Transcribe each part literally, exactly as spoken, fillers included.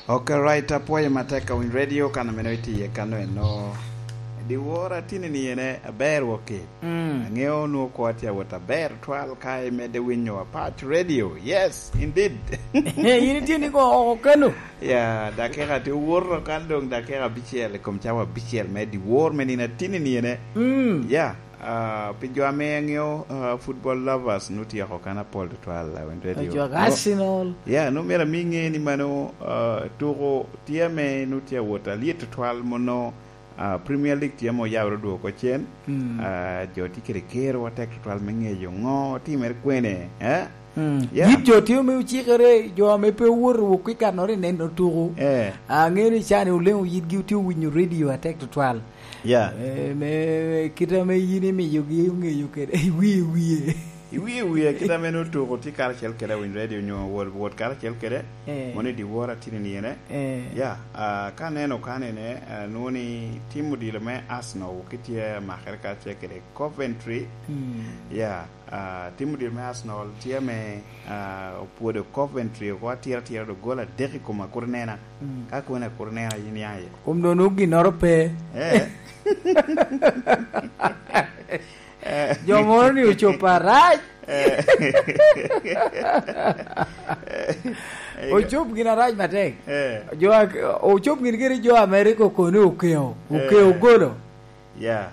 Ok, right, apwoyo matek ka winy radio, kan ameno itye iye kano eno. Diwor atini ni ene aber woki. Mm. Angeo nwo kwa tye awot aber twal ka imedde winyo Apac Radio. Yes, indeed. In itye ni ko oko kano? Ya, dakika tye owoto kan dong dakika abicel, i kom cawa abicel me diwor me nino atini ni ene. Mm. Ya. Ah, pi jo ame angeo, ah, football lovers, nu tyeko kan apol tutwal, ah, win radio. Jo Arsenal. Ya, nu myero ami ŋe ni mano, ah, tuko tye ame nu tye awot alyet tutwal, mono, ah, Premier League tye ame oyabere odwogo oko cen. Mm. Ah, jo tye kede kero atek tutwal me ŋeyo ŋo timere kwene, eh? Mm. Ya. Yit jo tye ame ocikere, jo ame pe owoto wok i kannoro i neno tuko. Eh. Ah, aŋeo ni cani oleŋo yitgi otye owinyo radio atek tutwal. Ya. Eh, me, me kit ame yin imiyogi oŋeyo kede, iwie wie. Iwie wie, kit ame nwo tuko tye karacel kede Winy Radio onyo wot, wot karacel kede, eh, mono i dyewor atini ni ene. Eh. Ya, ah, ka aneno kanene, ah, nwo ni tim odilo me Arsenal ki tye amakere karacel kede Coventry. Mm. Ya, ah, tim odilo me Arsenal tye ame, ah, opwodo Coventry oko atira atira do gol adek i kom akurinena. Mm. Ka kwene akurinena yin ya iye? Kom dono ginnoro pe. Eh. Eh. Jo moro ni ocopo arac. Eh. Ocob gin arac matek. Eh. Jo a-, ocob gin kede jo Amerika okone okeo, okeo, eh, golo. Ya.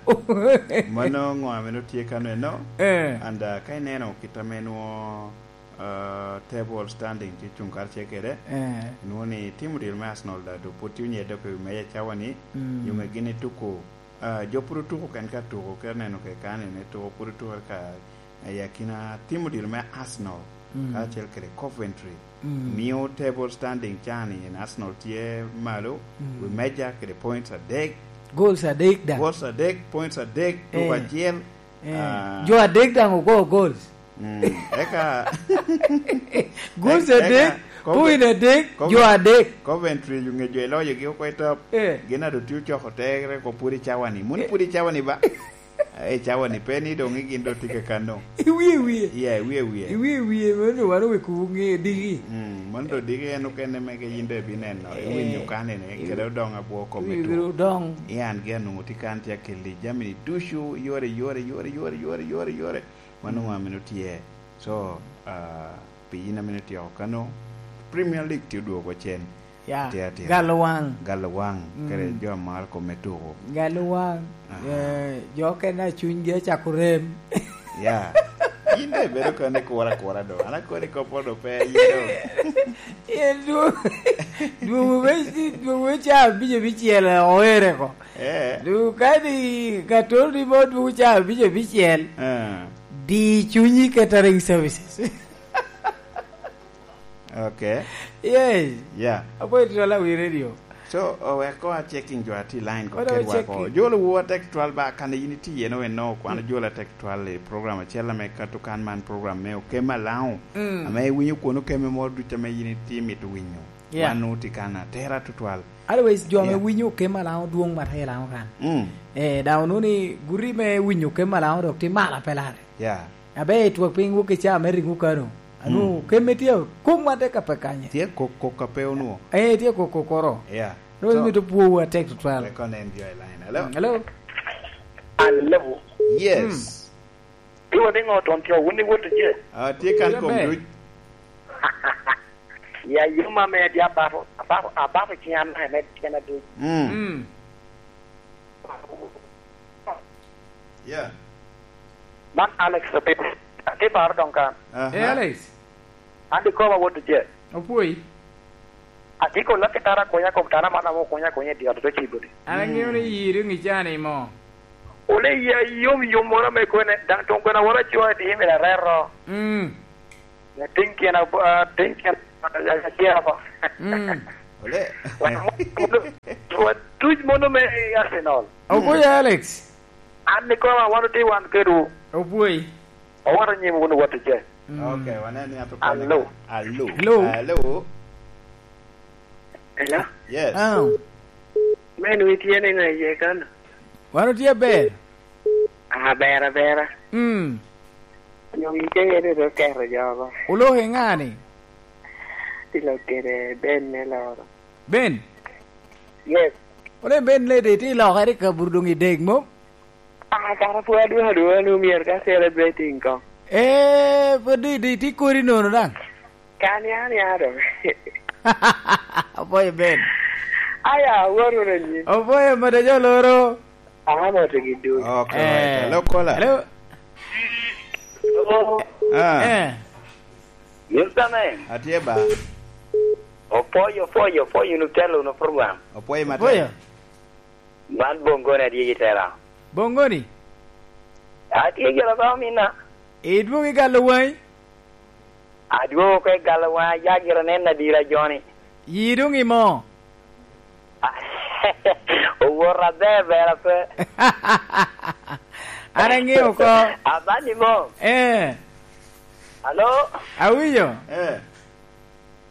Mano ŋo ame nwo tye kano eno? Eh. And, uh, ka ineno kit ame nwo, uh, table standing tye cuŋ karacel kede, eh, nwo ni tim odilo me Arsenal da do pwod tye onyedde oko i wi meja cawa ni, mm, nyume gin ituko, uh, jo pwod otuko ken ka tuko, kit aneno kede kani ni tuko pwod otuko ka i akina tim odilo me Arsenal, mm, karacel kede Coventry. Mm. Mio table standing cani en Arsenal tye malo, mm, wi meja kede points adek. Goals adek da. Goals adek, points adek, tuko, eh, acel. Eh. Ah. Jo adek daŋ ogo goals. Mm. Eka goals, eka adek, Cove-, point adek, Cove-, jo adek. Coventry onge jo iloyogi oko i top. Eh. Gin ado tye ocoko tere ko pwod i cawani. Moni, eh, pwod i cawani ba? Eh, cawa ni pe ni doŋ gin doŋ tye kakano. Iwie wie. Iya, iwie wie. Iwie wie, mano doŋ wan oweko ŋe diki. Mm, mano doŋ diki en okene mege yin doŋ ibineno, eh, iwinyo kanene, kede odoŋ abwo kome tu. Iwinyo odoŋ. Ian gi anwoŋo tye kan tye akelli jami ni ducu, yore, yore, yore. Mano, mm, ŋo amino tye. So, ah, pi yin amino tyeko kano, Premier League tye odwogo cen. Ya, atye, atye. Galo waŋ. Galo waŋ, mm, kede jo amaro kome tuko. Galo waŋ. Aha. Eh, jo okene a cunygi acako rem. Ya. Yin de ibedo kene kura kura do. An akoni koppo do pe, yin do. Yen dwogo, dwogo me, dwogo me caa abic abicel oere ko. Eh. Dwogo kadi katoro ni mo dwogo caa abic abicel. Eh. Di cunyi catering services. Okay. Yes. Yeah. Apo itwala wi radio. So, owek ko a checking jo ati line ko. Wadwa kedwa ko checking. Jolo wu atek twal ba kan yin iti yen oweno kwan, mm, jolo atek twal i program acel ame kato kan man program me Okema Lao. Mm. Ame iwinyo kono keme mo ducu ame yin iti mito winyo. Yeah. Wan nu ti kan atera tutwal. Otherwise, jo ame, yeah, winyo Okema Lao dwong matek Lao kan. Mm. Eh, da onuni guri me winyo Okema Lao dok ti mala pelare. Yeah. Abe i twak piny wok i caa me riŋo kano. Anu, mm, kemme tye kok ma tek ape kanye. Tye kok, kok ape onwo. Eh, tye kok, kok oro. Yeah. Ro. So, imito pwowu atek tutwal. Wek onen jo i line. Hello? Hello? Hello? Yes. Mm. Iwa ni ŋo ton tye, wun ni wot tye? Ah, tye kan. Tye kom ber. Duc. Ya yuma me di abafo, abafo, abafo ciŋ an me tyen aduc. Mm. Mm. Yeah. Man Alex Opio. Atye paro doŋ kan. Aha. Eh, Alex. An dikoma wot tye. Opwoi. Atye ko lakitara konya kom tara man amo konya konya i dyot to ci budi. An aŋeo ni yiri ŋi cani mo. Ole ya yom yom moro me kwene, daŋ toŋ kwena wora cwa di mi rero. Mm. Latin tyen ab-, ah, tin tyen, ah, tyen apa. Mm. Ole. Wa, wa, wa tuc mono me Arsenal. Ogoyo Alex. An ni koma wan otye wan kedwu. Obwoi. Owoto nyim wun wot ice. Mm. Okay, wane ni ato kone. Alo. Alo. Hello. Alo. Hello? Yes. Ah. Men wi tye ni ŋa iye kan? Wan otye aber. Aber abera. Mm. Onyo ikeŋe ni rik oketo jo oko. Oloko i ŋa ni? Ti lok kede Ben me loro. Ben? Yes. Ole Ben le de ti lokere ka bur doŋ i dek mom? Ah, kara pwod adwoŋ adwoŋ ni myero ka celebrating ko. Eh, pwod di, di, ti kodi nono daŋ. Kan ya, ya do. Apwoyo Ben. Aya, wor wunu anyim. Apwoyo mada jo loro. Amo to gi dul. Okay, right. Eh. Hello, caller. Hello. Hello. Ah. Eh. Mister Man. Atye ba. Opoyo, opoyo, opoyo, nu telo, nu program. Opoyo matek. Opoyo. Man Bongoni adye i tela. Bongoni? Atye gire ba omina. Idwogo i galo waŋi? Adwogo oko i galo waŋa, ya gire nen adira joni. Yi doŋ imo? Owot aber ber ape. An aŋeo oko. Abani mo. Eh. Alo? Awinyo. Eh.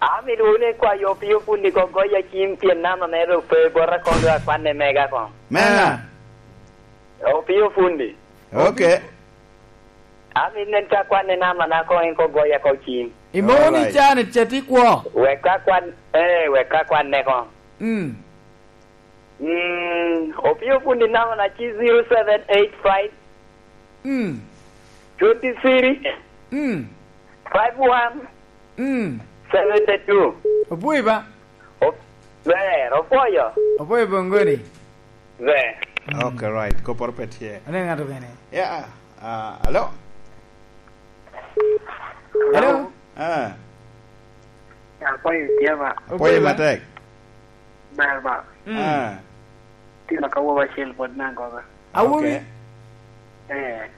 Amito wunu ikwayo Opio Fundi ko goya cim pien nama mere doŋ pe bota koŋ doŋ akwanne mega koŋ. Mega? Ah. Opio Fundi. Okay. Amito nen ka akwanne nama na koŋ en ko goya ko cim. Imo ni Alright. Can it ceti kwo. Wek ka kwan, eh, wek ka kwanne koŋ. Mm. Mm, Opio Fundi nama na ci zero seven eight five. Mm. Twenty-three. Mm. Five one. Mm. Seventy-two. Obuyi ba? O-, ber, opoyo. Opoyo Bongoni. Ber. Mm. Okay, right. Koporo pe tye. Ane ng'ato kene. Yeah. Ah, hello? Hello? Ah. Apoyo tye ba? Apoyo matek. Ber ba? Mm. Ah. Tino ka woba acel bot nang koga. Awobi? Okay. Eh.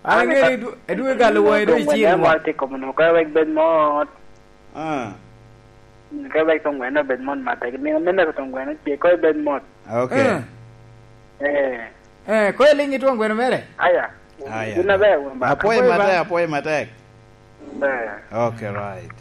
An aŋeo ni du-, edwogo galo waŋi do iciro wa. Mot i kom no, ka wek bed mot. Ah. Ka wek tong gweno bed mot matek. Nino mene ko tong gweno ce, ko bed mot. Okay. Ah. Eh. Eh, ko iliŋ i twon gweno mere? Aya. Aya. Wun aber, wun ba? Apoyo matek, apoyo matek. Ber. Okay, right.